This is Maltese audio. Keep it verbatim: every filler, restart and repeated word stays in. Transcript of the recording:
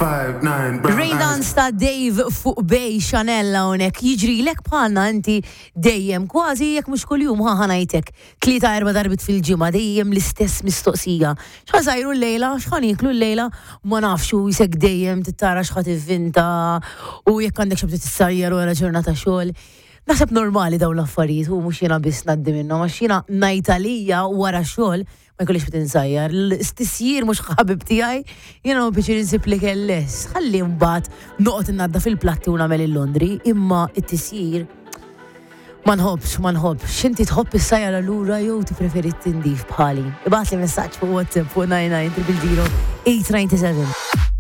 Five, nine, brown Rain eyes. Dance ta' Dave fuq Bay Chanel hawnhekk jiġrilek bħalna inti dejjem kważi jekk mhux kuljum ħa ħa ngħidlek tlieta erba' darbiet fil-ġimgħa dejjem l-istess mistoqsija. X'ħa nsajru llejla, x'ħa nieklu llejla, ma nafx u jisek dejjem tittara x'ħa tivvinta u jekk għandek xi tissajjar wara ġurnata xogħol. Naħseb normali dawn l-affarijiet u mhux jiena biss ngħaddi minnhom għax jiena ngħid għalija wara xogħol ma jkollix bit insajjar. L-istisjir mhux ħabib tiegħi, jiena ma biex insib li kelles. Ħalli mbagħad noqgħod innaddaf il-platti u nagħmel il-laundry, imma it-tisjir ma nħobbx, ma nħobbx. Inti tħobb issajjar allura jew tippreferi tindif bħali. Ibgħatli messaġġ fuq WhatsApp fuq nine nine triple zero eight ninety seven.